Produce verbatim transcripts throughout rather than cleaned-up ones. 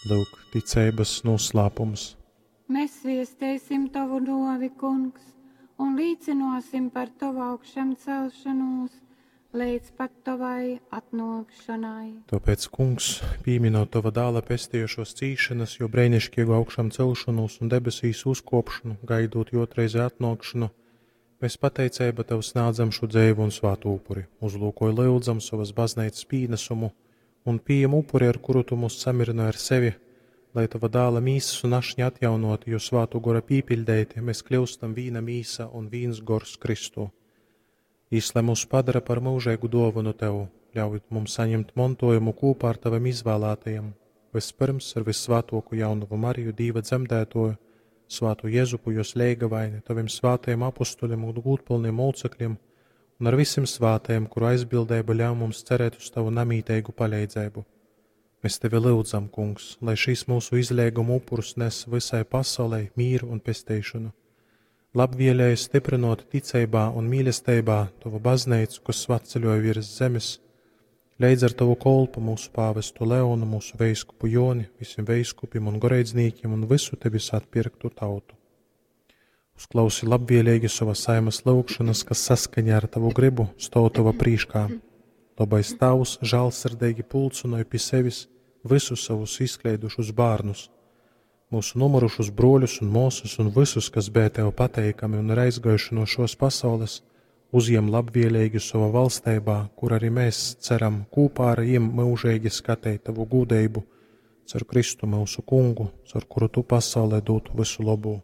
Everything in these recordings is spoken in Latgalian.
Lyuk, ticeibas noslēpums. Mēs viesteisim Tavu novi, Kungs, un līcinosim par Tavu augšamcelšanos līdz pat Tavai atnākšanai. Tāpēc, Kungs, pieminot Tava dāla pestījušos cīšanas, jo brēnišķīgu augšām celšanos un debesīs uzkopšanu, gaidot jotreizi atnākšanu, mēs pateicība Tev snādzam šo dzēvu un svātu upuri, uzlūkoju lyudzam savas baznīcas pīnesumu un pieņem upuri, ar kuru Tu mūs samirināji ar sevi, lai Tava dāla mīsas un ašņa atjaunoti, jo svātu gora pīpiļdeiti, mēs kļūstam vīna mīsa un vīns gors Kristū. Jis, lai mūs padara par mūžīgu dāvanu Tev, ļauj mums saņemt mantojumu kopā ar Taviem izvēlētajiem, vispirms ar vissvētāko jaunavu Mariju, Dīva dzemdētoju, svātu Jezupu, jos leigavaini, Taviem svātajiem apustuļiem un gūtpilniem mūcekļiem, un ar visiem svātajiem, kuru aizbildība ļauj mums cerēt uz Tavu namītīgu palīdzību. Mēs Tevi lūdzam, Kungs, lai šīs mūsu izlieguma upurus nes visai pasaulei mīru un pestīšanu. Labvēlēji stiprinot ticībā un mīlestībā Tavu baznīcu, kas svatceļoja virs zemes, leidz ar Tavu kolpu mūsu pāvestu Leonu, mūsu veiskupu Joni, visiem veiskupiem un goreidznīkiem un visu Tevis atpirktu tautu. Uzklausi labvēlīgi savas saimas lūgšanas, kas saskaņā ar Tavu gribu stāv Tava prīškā. Labais Tavs žēlsirdīgi pulcinoja pie sevis visus savus izkleidušus bērnus, mūsu nomurušus broļus un māsas un visus, kas bija Tev pateikami un ir aizgājuši no šos pasaules, uzjem labvēlīgi savā valstībā, kur arī mēs ceram kopā ar viņiem mūžīgi skatīt Tavu gudrību, caur Kristu mūsu kungu, caur kuru Tu pasaulē dotu visu labo.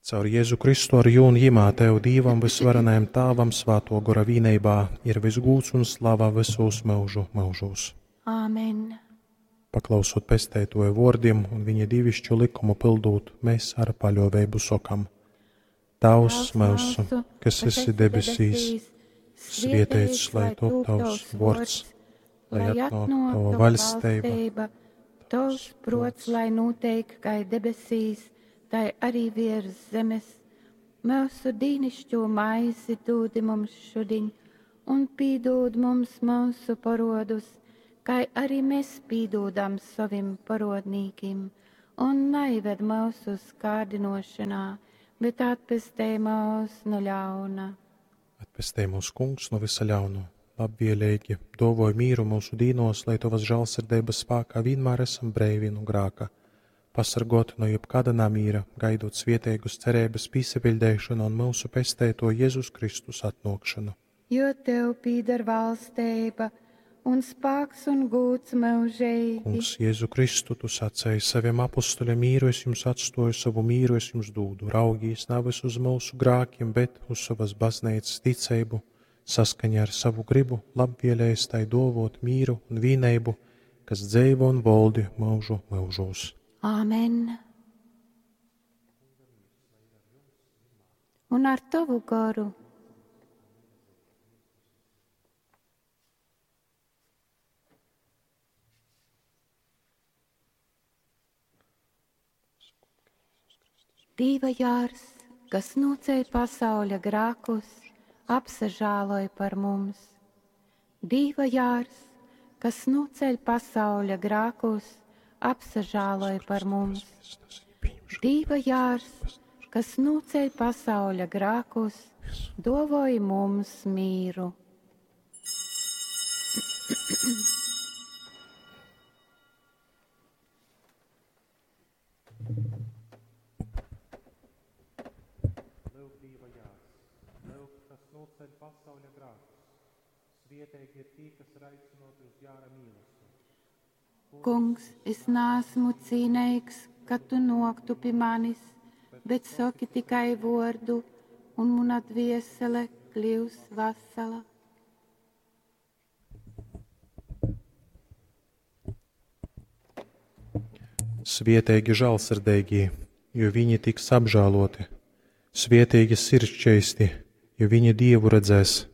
Caur Jēzu Kristu ar jūnu jimā Tev Dīvam visvarenajam Tāvam svāto gora vīneibā ir visgūts un slava visos mūžu mūžos. Āmen. Paklausot pestētoja vārdiem un viņa dievišķo likumu pildot, mēs ar paļāvību sokam: Tavs mūsu, kas esi debesīs, svētīts lai top tavs vārds, lai atnāk tava vaļstība, Tavs prots, lai notiek kā debesīs, tai arī virs zemes. Mūsu dīnišķo maizi dūdi mums šodien, un pīdūd mums mūsu parodus, kā arī mēs pīdūdam savim parodnīkim, un neived mūsu kārdinošanā, bet atpestē mūs no ļauna. Atpestē mūsu kungs no visa ļaunu, labvēlīgi dovoj mīru mūsu dīnos, lai tavas žēlsirdības spēkā vienmēr esam breivi no grāka, pasargoti no jebkāda namīra, gaidot svietēgus cerības pīsepildēšanu un mūsu pestēto Jēzus Kristus atnākšanu. Jo tev pīdar valstība un spēks un gūts mūžīgi. Kungs, Jēzu Kristu, tu sacēji saviem apustuļiem mīru es jums atstoju, savu mīru es jums dūdu. Raugīs nevis uz mūsu grākiem, bet uz savas baznīcas ticību, saskaņā ar savu gribu, labvēlējis tai dovot mīru un vīneibu, kas dzeivo un voldi mūžu mūžos. Āmen. Un ar tavu garu. Dīva jārs, kas noceļ pasauļa grākus, apsažāloj par mums. Dīva jārs, kas noceļ pasauļa grākus, apsažāloj par mums. Dīva jārs, kas noceļ pasauļa grākus, dovoj mums mīru. Lūk, Dīva jārs, lūk, kas noceļ pasauļa grākus. Svietīgi ir tie, kas ir aicināti uz jāra mīlestību. Kungs, es nāsmu cīnīgs, ka tu noktu pie manis, bet saki tikai vordu, un mana dviesele kļūs vasala. Svietīgi žēlsirdīgie, jo viņi tiks apžēloti. Svietīgi sirdsčeisti, jo viņi Dievu redzēs.